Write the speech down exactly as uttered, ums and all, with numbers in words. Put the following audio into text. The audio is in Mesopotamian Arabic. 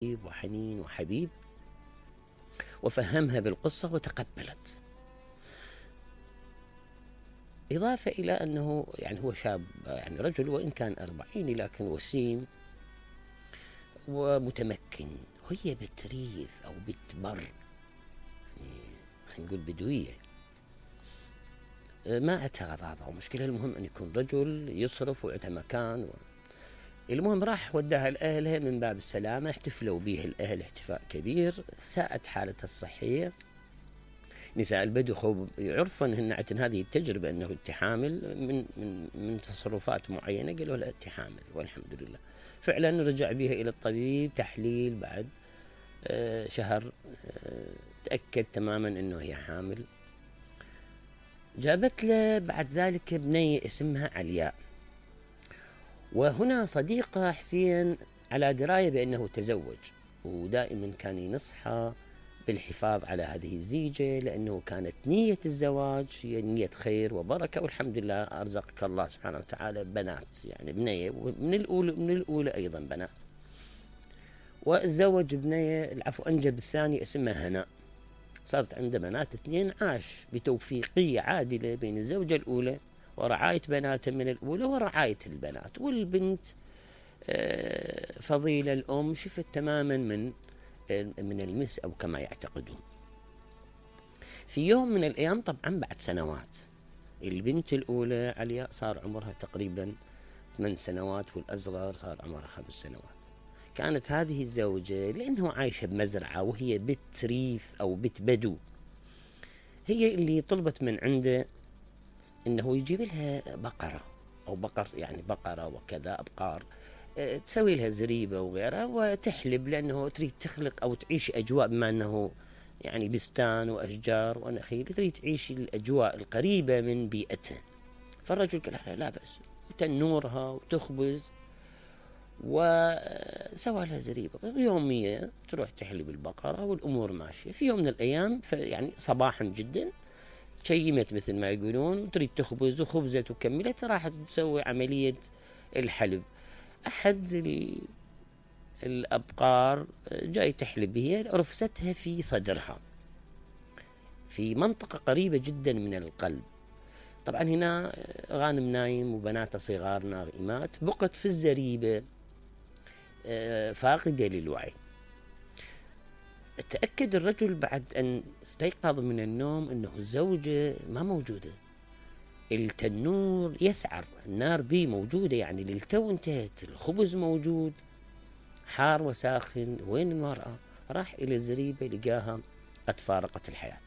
وحنين وحبيب، وفهمها بالقصة وتقبلت. إضافة إلى أنه يعني هو شاب، يعني رجل وإن كان أربعيني لكن وسيم ومتمكن، وهي بتريث أو بتبر، يعني خلينا نقول بدوية، ما عندها غضاضة أو مشكلة. المهم أن يكون رجل يصرف وعنده مكان و... المهم راح وداها لأهلها من باب السلامة، احتفلوا به الأهل احتفاء كبير، ساءت حالتها الصحية. نساء البدو خوب يعرفون أن عندهن هذه التجربة أنه أنت حامل من, من, من تصرفات معينة، قالوا لا أنت حامل، والحمد لله. فعلا رجع بها إلى الطبيب، تحليل بعد آه شهر آه تأكد تماما أنه هي حامل. جابت له بعد ذلك بنية اسمها علياء، وهنا صديقة حسين على دراية بأنه تزوج، ودائما كان ينصحها بالحفاظ على هذه الزيجة، لأنه كانت نية الزواج هي نية خير وبركة، والحمد لله أرزقك الله سبحانه وتعالى بنات، يعني بنية من الأولى من الأولى أيضا بنات. وتزوج بنية، العفو أنجب الثاني اسمها هناء، صارت عنده بنات اثنين. عاش بتوفيقية عادلة بين الزوجة الأولى ورعاية بناته من الأولى ورعاية البنات، والبنت فضيلة الأم شفت تماما من من المس أو كما يعتقدون. في يوم من الأيام طبعا بعد سنوات، البنت الأولى علياء صار عمرها تقريبا ثمان سنوات، والأصغر صار عمرها خمس سنوات. كانت هذه الزوجة لأنه عايشة بمزرعة وهي بنت ريف أو بنت بدو، هي اللي طلبت من عنده إنه يجيب لها بقرة أو بقر، يعني بقرة وكذا أبقار، تسوي لها زريبة وغيرها وتحلب، لأنه تريد تخلق أو تعيش أجواء، بما أنه يعني بستان وأشجار ونخيل، تريد تعيش الأجواء القريبة من بيئتها. فالرجل قال لها لا بأس، تنورها وتخبز، وسوى لها زريبة يومية تروح تحلب البقرة والأمور ماشية. في يوم من الأيام يعني صباحا جدا شيمت مثل ما يقولون، وتريد تخبز وخبزت وكملت، راحت تسوي عملية الحلب. أحد الأبقار جاي تحلب، هي رفستها في صدرها في منطقة قريبة جدا من القلب. طبعا هنا غانم نايم وبناته صغار نائمات، بقت في الزريبة فاقدة للوعي. تأكد الرجل بعد أن استيقظ من النوم أنه الزوجة ما موجودة، التنور يسعر، النار بي موجودة، يعني للتو انتهت، الخبز موجود حار وساخن، وين المرأة؟ راح إلى الزريبة لقاها قد فارقت الحياة.